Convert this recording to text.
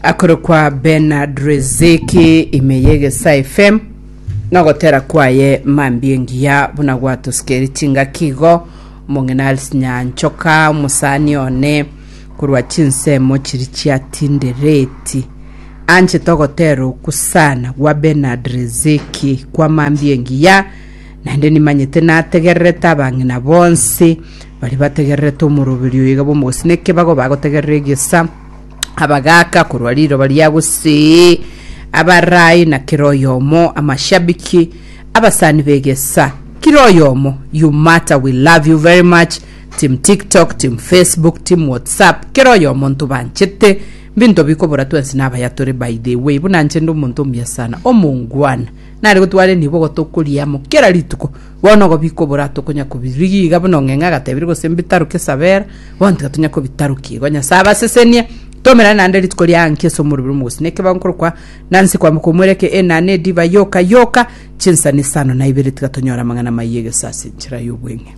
Akorokwa Bernard Riziki ime y'Egesaa FM nogotera kwaye mambia engiya buna gwatosikeri chingaki igo omong'ina Alice Nyanchoka omosani one korwa chinsemo chiri chia Tindereti anchete ogotera oku sana gwa Bernard Riziki kwa mambia engiya naende nimanyete nategererete abang'ina bonsi baria bategererete omoroberi oyo iga bw'omogusii na ekebago bagotegerera egesa abagaaka korwa riroba ria gusii, abarai na kera oyomo, amashabiki, abasani b'egesa, kera oyomo, you matter, we love you very much, team TikTok, team Facebook, team WhatsApp, kera oyomo ntobanchete, mbinto bikobora twensi nabaya tore by the way, buna nche nde omonto omuya sana, omongwana, nare gotwara enibo gotokoria amo kera rituko, bono igo bikobora tokonya kobirigia iga buna ong'eng'e agatebire gose mbitaroke sabera, Bono tiga tonya kobitarokia igo. Nyasae abasesenie. Tomerane naende rituko ria anki ase omorobiri omogosi. Nekebago nkorokwa Nancy kwamboka omwereke enana ediva yoka yoka chinsani isano na ibere tiga tonyore amang'ana amaya y'egeso ase enchera y'obweng'e.